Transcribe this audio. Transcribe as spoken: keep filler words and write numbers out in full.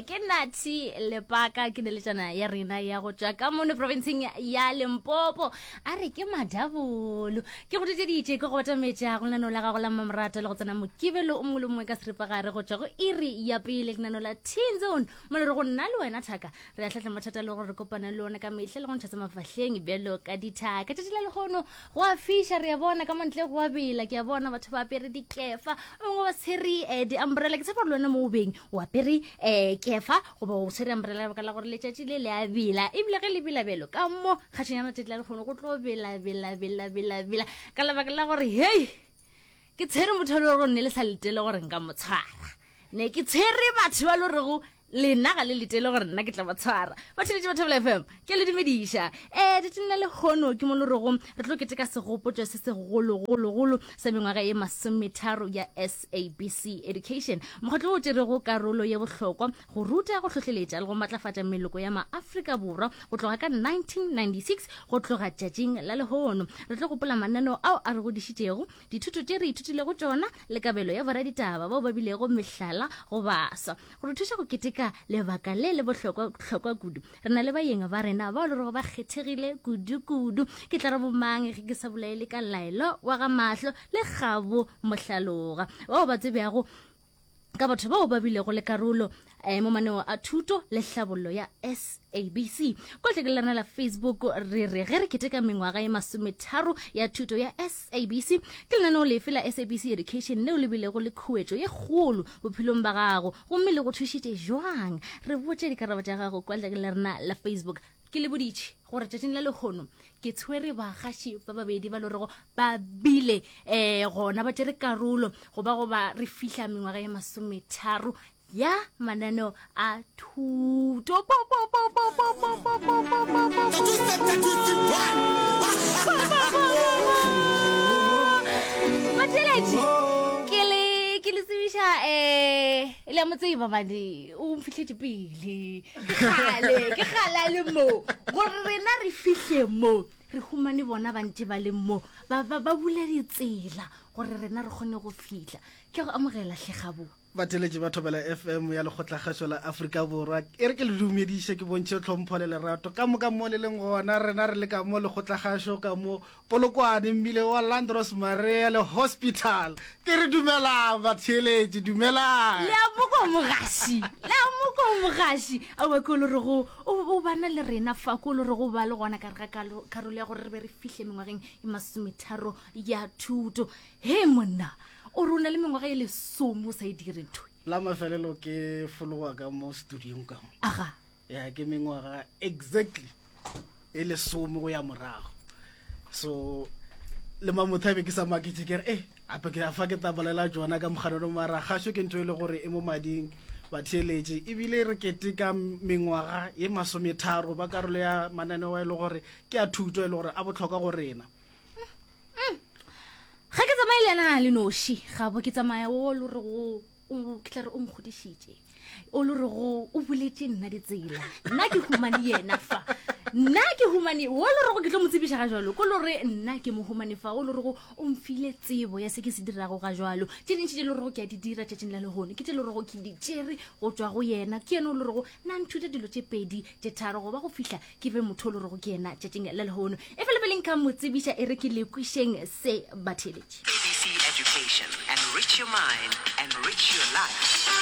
Ke Nathi Lepaka, ke neletšana ya rena ya go tšwa ka mono provinceng ya Limpopo. A re ke madabolo. Ke go ditšeditše ke go batametša go lenaneo la gago la mmamorato le go tsena Mokibelo o mongwe le mongwe ka seripagare go tšwa go iri ya pele, lenaneo la Teen Zone, mo le re go nna le wena thaka re a tlhatla mathata le gore re kopana le ona ka mehla le go ntšha tsa mafahleng bjalo ka dithaka. Tšatši la lehono go a fiša, re a bona ka montle go a bela, ke a bona batho ba apere dikefa, ba bangwe ba tshwere um di-umbrella. Ke tshepa gore le wena mo o beng o apere um kefa goba o tshwere umbrella baka la gore letšatši le le a bela, ebile ge le bela bjalo ka mo kgatšhong ya matšatši la lekgono go tlo bela bela bela bela bela ka lebaka la gore hei ke tshwere motho le gore nne le sa letele gore nka mo tshwara, ne ke tshwere batho ba le gorego lena ga le letele gore nna ke tla ba tshwara. Batheletše ba Thobela F M, ke le dumediša. um tšatšing la lehono ke mo le rego re tlo keteka segopotšo se segologologolo sa mengwaga ye masometharo ya S A B C Education, mokgatlo o tšerego karolo ye bohlokwa go ruta, go hlohleletša le go matlafatša meloko ya maAfrika Borwa go tloga ka nineteen ninety-six go tloga tšatšing la lehono. Re tlo gopola mananeo ao a re godišitšego, dithuto tše re ithutilego tšona le kabelo ya boraditaba bao ba bilego mehlala go baswa. Go re thuša go keteka lebaka le le bohlokwa hlokwa kudu, re na le baeng ba rena bao le rego ba kgethegile kudu-kudu. Ke tla re bomang ge ke sa bolaele ka Laelo wa ga Mahlo le Kgabo Mohlaloga, bao ba tsebjago ka batho bao ba bilego le karolo eh, mo maneo a thuto le hlabollo ya S A B C. Kwa tleke la rena la Facebook re re ge re keteka mengwaga ye masometharo ya thuto ya S A B C, ke lenaneo lefe la S A B C Education leo le bilego le khuetšo ye kgolo bophelong ba gago gomme le go thušitše jwang? Re botše dikarabo tša gago kwa tleke la rena la Facebook. Ke le boditše gore tšatšing la lehono ke tshwere bagaši ba babedi ba lorego ba bile um gona ba tšere karolo goba goba re fihla mengwaga ye masometharo ya mananeo a thuto. Batheletši, ke le ke le tsebiša um le a mo tseba bane o mfihletše pele, ke kgale ke kgale a le mo gore rena re fihle mo re humane bona ba ntše ba le mo ba ba ba bula ditsela gore rena re kgone go fihla. Ke go amogela hle Kgabo. Batheletši ba Thobela F M ya Lekgotlakgašo la Afrika Borwa, e re ke le dumediše, ke bontšhe tlhompho le lerato ka moka mo le leng gona. Rena re le ka mo Lekgotlakgašo ka mo Polokwane, mmile wa Landros Marea le Hospital. Ke re dumelang batheletši, dumelang. Le a moko mogaši, le a moko mogaši. Aowa ke o le rego o, o bana le rena fa, ke o le rego ba le gona ka re ga karolo ya gore re be re fihle mengwageng e masometharo ya thuto. He monna, o re o na le mengwaga e lesome o sa e dire ntho. La mafelelo ke fologa ka mo studiong ka mo. Aga. Ya ke mengwaga exactly e lesome go ya morago. So le mamothabe ke sa maketše ke re eh ape ke fa ke tla bolela tšona ka moganano, mara gašo ke ntho e le gore e mo mading batheeletše, ebile re keteka mengwaga ye masometharo ba karolo ya mananeo e le gore ke a thuto e le gore a bohlokwa go rena. Ga ke tsamaye le yena le noši, Kgabo, ke tsamaya o le gore go o ke tla re o nkgodišitše, o le gore go o buletše nna ditsela, nna ke humane yena fa, nna ke humane o le gore ke tlo mo tsebiša ga jwalo, ko le gore nna ke mo humane fa, o le gore o mfile tsebo ya se ke se dirago ga jwalo. Tše dintši tše le gore ke a di dira tšatšing la lehono ke tše le gore ke di tšere go tšwa go yena, ke yena o le gore nna nthuta dilo tše pedi tše tharo goba go fihla ke be motho o le gore ke yena tšatšing la lehono. E fela pele nka mo tsebiša, e re ke le kwišeng se batheletši. A B C Education, enrich your mind, enrich your life.